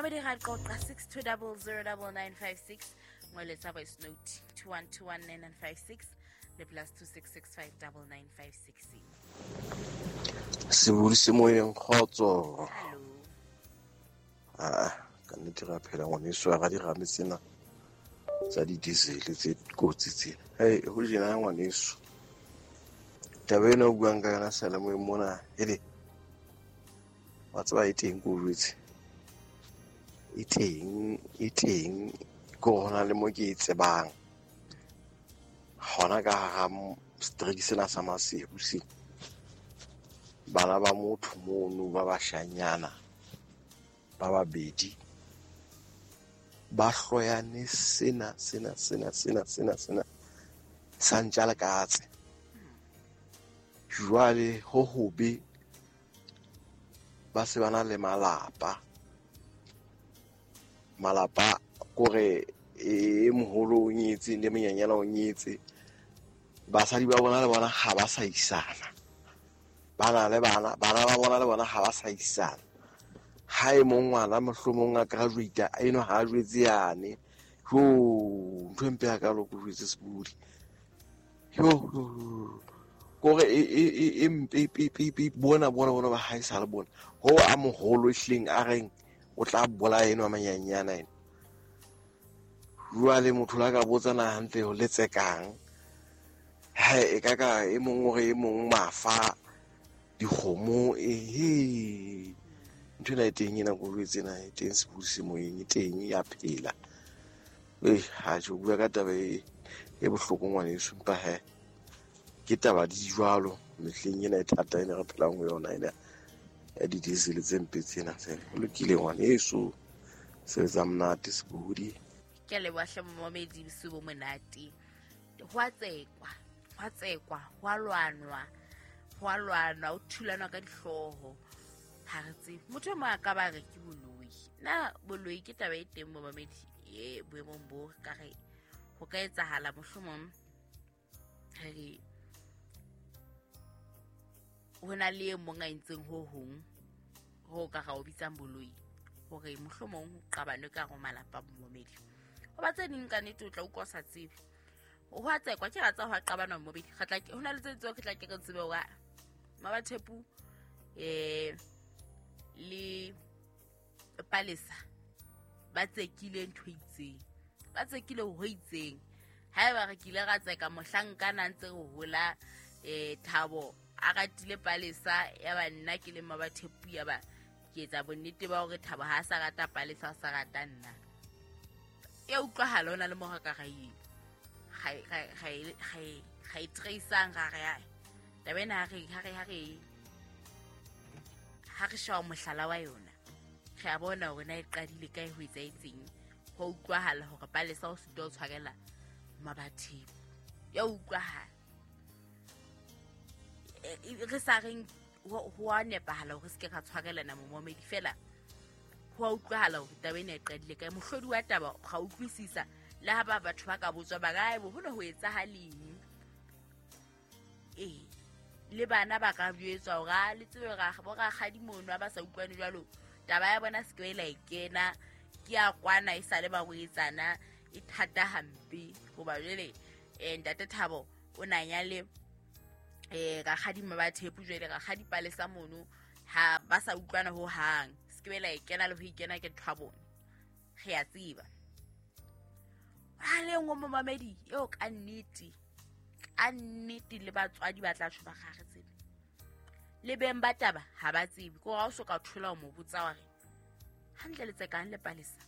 Momamedi ra qoqa 62009956, ngoletsa voice note 21219956 le +266 59956. Sebodi se moyeng, kgotso. Hallo. Aa, ka nnete re a phela ngwaneso, ha dirame tsena tsa di-diesel tse kotsi tsena. Hei, ho jena ngwaneso, taba ena o buang ka yona seyalemoyeng mona, hele wa tseba e teng, ko jwetse e teng, e teng, ke hore hona le mo ke e tsebang hona ka hara strike sena sa Maseru sena. Bana ba motho mono ba bashanyana ba babedi ba hloyane sena sena sena sena sena sena sa ntja le katse. Jwale ho hobe ba se ba na le malapa, malapa kore e moholo o nyetse le monyenyana o nyetse, basadi ba bona le bona ha ba sa isana, ba na le bana, bana ba bona le bona ha ba sa isana. Ha e mong ngwana mohlomong a graduate a eno ha a jwetse yane, jo ntho e mpe hakalo ko jwetse sebodi, yo kore e mpe pe pe pe bona bona bona ba ha e sa le bona ho a moholo ehleng a reng o tla bolaya eno a manyenyana eno. Jwale motho la ka botsa na hantle ho letsekang, ha e ka ka e mong hore e mong mafa dikgomo, ehe ntho ena e teng ena ko jwetse ena e teng sebodi se moyeng, e teng ya phela. Ha tjho bua ka taba e bohloko ngwaneso, empa he ke taba di jwalo mehleng ena e thata ena re phelang ho yona ena ya di-diesel tse mpe tsena tsena. Ho lokile ngwaneso, sebetsa monate sebodi. Ke a leboha hle momamedi, bosiu bo monate. Ho a tsekwa, ho a tsekwa, ho a lwanwa, ho a lwanwa, ho thulanwa ka dihlooho. Ha re tsebe motho e mong a ka ba re ke boloi. Na boloi ke taba e teng momamedi e boemong bo ka re ho ka etsahala mohlomong re re ho na le e mong a entseng ho hong ho ka ra o bitsang boloi, hore mohlomong ho qabanwe ka hare ho malapa momamedi. Hoba tse ding ka nnete o tla utlwa o sa tsebe. Ho a tsekwa, ke ra tseba ho a qabanwa momamedi. Re tla ke, ho na le tse ding tseo ke tla ke re tsebe hore Mabathepu le Palesa ba tsekile ntho e itseng, ba tsekile ho itseng. Haeba re kile ra tseka mohlankana a ntse re hola, Thabo a ratile Palesa, ya ba nna ke le Mabathepu, ya ba ke etsa bonnete ba hore Thabo ha a sa rata Palesa, a sa rata nna. Ya utlwahala ho na le mo re ka ra e, ga e trace-ang, ra re, ai, taba ena ha re sheba mohlala wa yona, re a bona hore na e qadile kae, ho etsahetseng. Ho utlwahala hore Palesa o sitwa ho tshwarela Mabathepu. Ya utlwahala. Re sa reng ho a nepahala hore se ke ra tshwarelana momamedi, fela ho a utlwahala hore taba ena e qadile kae. Mohlodi wa taba ga utlwisisa, le ha ba batho ba ka botswa ba ka, bo ho ne ho etsahaleng. Le bana ba ka jwetswa hore a le tsebe bo rakgadi mono ha ba sa utlwane jwalo, taba ya bona se ke la e kena, ke ya kwana e sale ba boetsana, e thata hampe. Hoba jwale, ntate Thabo o na nyale, rakgadi Mabathepu, jwale rakgadi Palesa mono ha ba sa utlwana ho hang, se ke la e kena le ho ikena ke ntho ya bona, re a tseba. Ha le nngwe momamedi eo ka nnete, ka nnete le batswadi ba tla tjho ba re ha re tsebe, le beng ba taba ha ba tsebe. Ke hore ha o so ka thola ho mo botsa wa re hantle le tsekang le Palesa,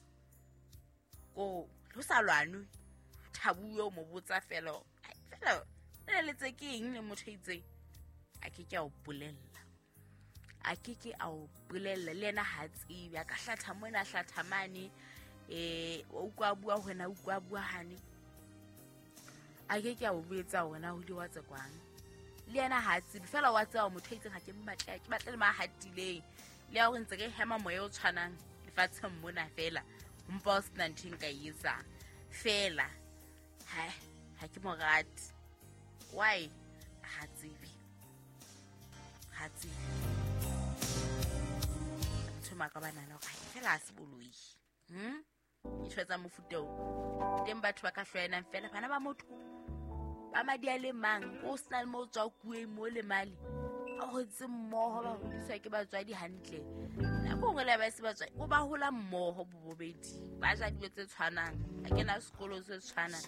ko ho sa lwanwe, Thabuwe o mo botsa fela, ai, fela le le tsekeng le motho a itseng, a ke ke a o bolella, a ke ke a o bolella. Le yena ha tsebe, a ka hlatha mona, a hlatha mane, o utlwa a bua hona, o utlwa a bua hane, a ke ke a o botsa hore na ho ile wa tsekwang. Le yena ha tsebe, fela wa tseba motho a itseng ha ke mmatle, ke batle le ma hatileng, le ya hore ntse re hema moya o tshwanang lefatsheng mona fela, mpa o sena ntho e nka e etsang fela, ha ke mo rate. Why? Ha tsebe, ha tsebe. Motho maka ba nahana gore fela a se boloi. Ntho tsa mofuta o teng, batho ba ka hlwaenang fela, bana ba motho ba madi a le mang, o sena le mo o tswa kueng mo le male, ba hotse mmoho, ba hodiswa ke batswadi hantle. Nako nngwe le ba se batswadi, o ba hola mmoho bobobedi, ba ja dijo tse tshwanang, ba kena sekolo se tshwanang.